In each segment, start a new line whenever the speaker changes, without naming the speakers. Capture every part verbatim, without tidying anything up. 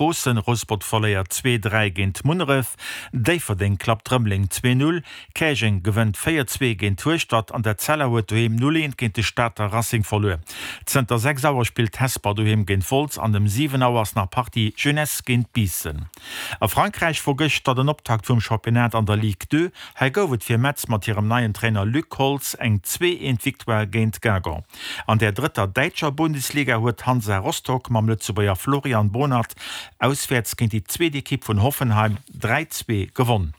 Stroossen, Rouspert verléiert zwee, dräi géint Munneref, Déifferdeng klappt Rëmeleng zwee, null, Käerjeng gewënnt véier, zwee géint Hueschtert an d'Etzella huet doheem null, eent géint de Stater Racing verluer. Zënter sechs Auer spillt Hesper doheem géint Wolz an ëm siwen Auer ass nach Partie Jeunesse géint Biissen. A Frankräich wor gëschter den Optakt vum Championnat an der Ligue deux. Hei gouf et fir Metz mat hirem neien Trainer Luc Holtz eng zwee eent Victoire géint Guingamp. An der drëtter däitscher Bundesliga huet Hansa Rostock mam Lëtzebuerger Florian Bohnert auswäerts géint déi zweet Ekipp vun Hoffenheim dräi zwee gewonn.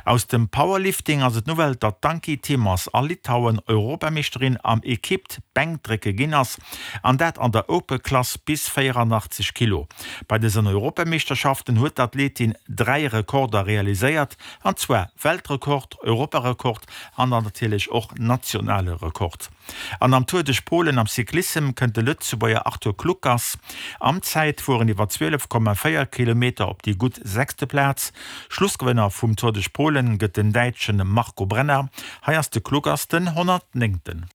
Aus dem Powerlifting ass et d'Nouvelle, datt d'Ankie Timmers a Litauen Europameeschterin am Equipped Bänkdrécke ginn ass, an dat an der Open Klass bis véierannachtzeg Kilo. Bei dësen Europameeschterschaften huet d'Athletin dräi Rekorder realiséiert, an zwar Weltrekord, Europarekord an dann natierlech och nationale Rekord. An am Tour de Polen am Cyclissem kënnt de Lëtzebuerger Arthur Kluckers am Zäitfueren iwwer zwielef Komma véier Kilometer op déi gutt sechste Plaz. Schlussgewënner vum Tour de Polen gëtt den Däitsche Marco Brenner. Hei ass de Kluckers den honnertnéngten.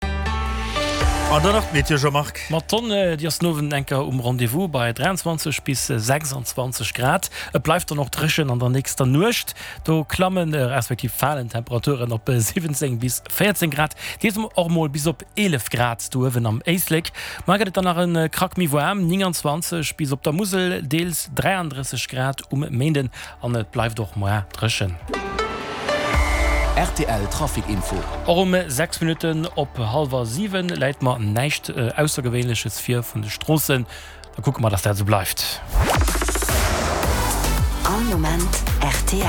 An dann nach d'Meteo, Jean-Marc.
Ma d'Sonn, déi ass den Owend enker um Rendez-vous bei dräianzwanzeg bis sechsanzwanzeg Grad. Et bleift dann och dréchen an der nächster Nuecht. Do klammen, respektiv falen d'Temperaturen op siwwenzéng bis véierzéng Grad, deels och mol bis op eelef Grad do uewen am Éislek. Mar gëtt et dann nach e Krack méi waarm, nénganzwanzeg bis op der Musel, deels dräiandrësseg Grad um Méinden an et bleift och moar dréchen.
Rtl Trafic Info.
Och um sechs Minutten op hallwer siwen läit mer näischt Aussergewéinleches vir vun de Stroossen. Da kucke mer, dass dat esou bleift.
All Moment rtl.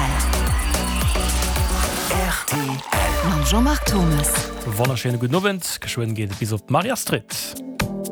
Rtl.
Mam Jean-Marc Thomes.
Wonnerschéine gudden Owend. Geschwënn geet et bis op d'Marie-Astrid.